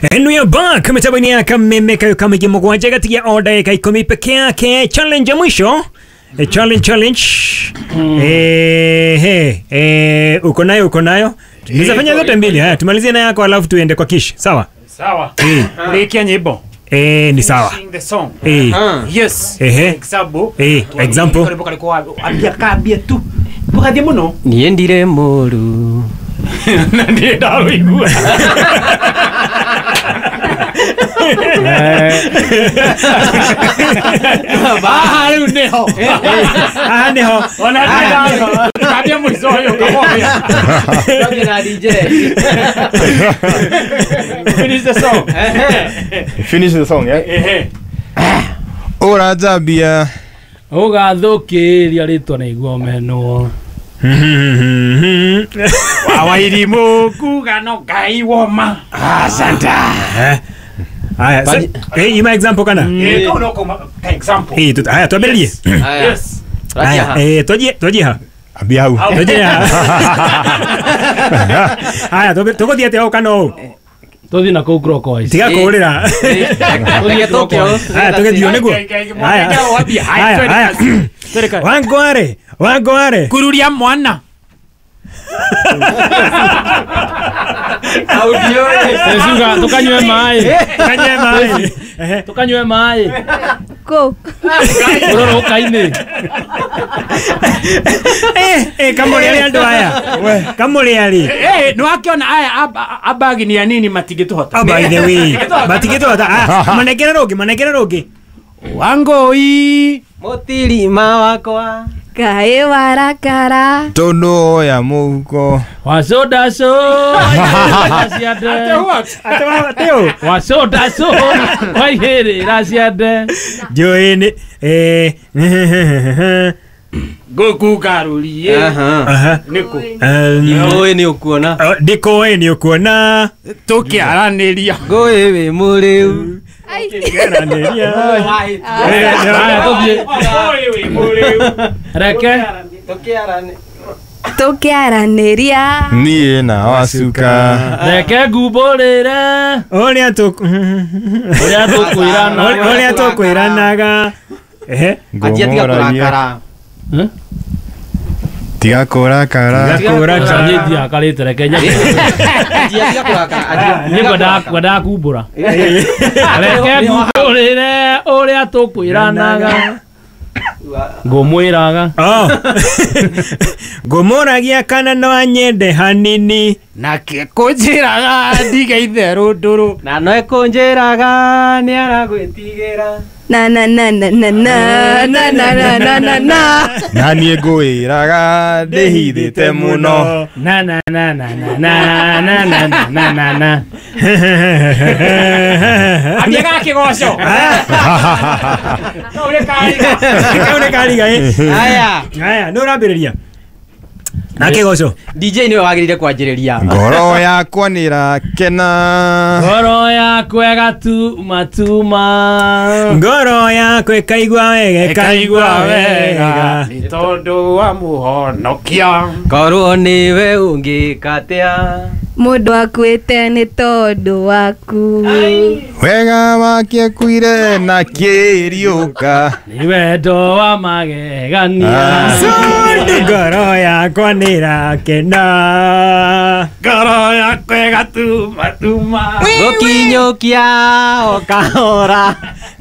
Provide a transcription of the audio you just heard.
And we are back. Mitambo ya Kameme kayo kama kimogwanja kati ya order ya 10 peke yake. Challenge ya mwisho. Challenge. Uko nayo, uko nayo. Tunaweza fanya zote mbili. Haya, tumalizie na yako alafu tuende kwa kish. Sawa? Sawa. Rekia nyimbo. Ni sawa. Sing the song. Yes. Example. Example. Ambia kabia tu. Bukathie muno. Niendire muru. Na ndiye ndaruigua. Baha rĩu nĩho. Aha nĩho. Ona nĩ kabia mũico ũyũ kamoya. Ndoge na DJ. Finish the song. Finish the song, yeah? Ũranjambia. Ũgathũkĩria rĩtwa nĩguo menwo. Wawairimu kuga no Ngai woma. Asante. Haya, ima example kana? Kau no koma example. Haya, tuambie. Yes. Haya, tujie ha. Ambia hau. Tujie ha. Haya, tuguthie atia hau kana ũũ? Tuthi na kũu clockwise. Tiga kũũrĩra. Haya, tũgĩthiĩ nĩguo. Haya. Haya. Wangware, wangware. Kururia mwana. Audio. Tukanywe maĩ. Tukanywe maĩ. Tukanywe maĩ. Ko. Ũroroka-inĩ. Kamũrĩ andũ aya. Kamũrĩ arĩ. Nĩwakiona aya abagi ni ya nini matingĩtũhota. Oh, by the way. Matingĩtũhota. Manengere rũngĩ, manengere rũngĩ. Wangũi. Mũtirima wakwa. Kaĩ warakara. Tondũ ya mũhuko. Wacodaco. Ate ũ? Wacodaco. Waihĩrĩra ciande. Njũĩ nĩ Ngũkũgarũrie. Nĩkũ? Ngũĩ nĩ ũkuona. Ndikũĩ nĩ ũkuona. Tũkĩaranĩria. Ngũĩ wĩ mũrĩu. Tũkĩaranĩria. Haya tũthiĩ. Reke. Tũkĩaranĩria. Niĩ na wacuka. Reke ngumbũrĩre. Ũrĩa tũkwĩranaga. Ũrĩa tũkwĩranaga. Anjia tiga kũrakara. Tiga kũrakara. Tiga kũrakara. Niĩ ndiakarĩte reke nyambe. Anjia tiga kũrakara. Niĩ ngwendaga kumbũra. Reke ngumbũrĩre ũrĩa tũkwĩranaga. Ngũmwĩraga. Ngũmũragia kana no anyende hanini. Nake kũnjĩraga ndige itherũ ndũrũ. Na no ekũnjĩraga nĩ aragwĩtigĩra. Na na na na na na na na na na na. Na niĩ ngwĩraga ndĩhithĩte mũno. Na na na na na na na na na na. Ambia gakĩgoco. Kau nĩ kariga. Kau nĩ kariga. Haya. Haya, nĩ ũrambĩrĩria. Na kĩgoco. DJ nĩwe wagĩrĩire kwanjĩrĩria. Ngoro yakwa nĩrakena. Ngoro yakwa ĩgatumatuma. Ngoro yakwa ĩkaigua wega, ĩkaigua wega. Nĩ tondũ wa mũhonokia. Korwo nĩwe ũngĩka atĩa. Mũndũ akuĩte nĩ tondũ waku. Wega wake akuire na kĩriũka. Nĩ wendo wa magegania. Tondũ ngoro yakwa nĩrakena. Ngoro yakwa ĩgatumatuma. Gũkinyũkia o kahora.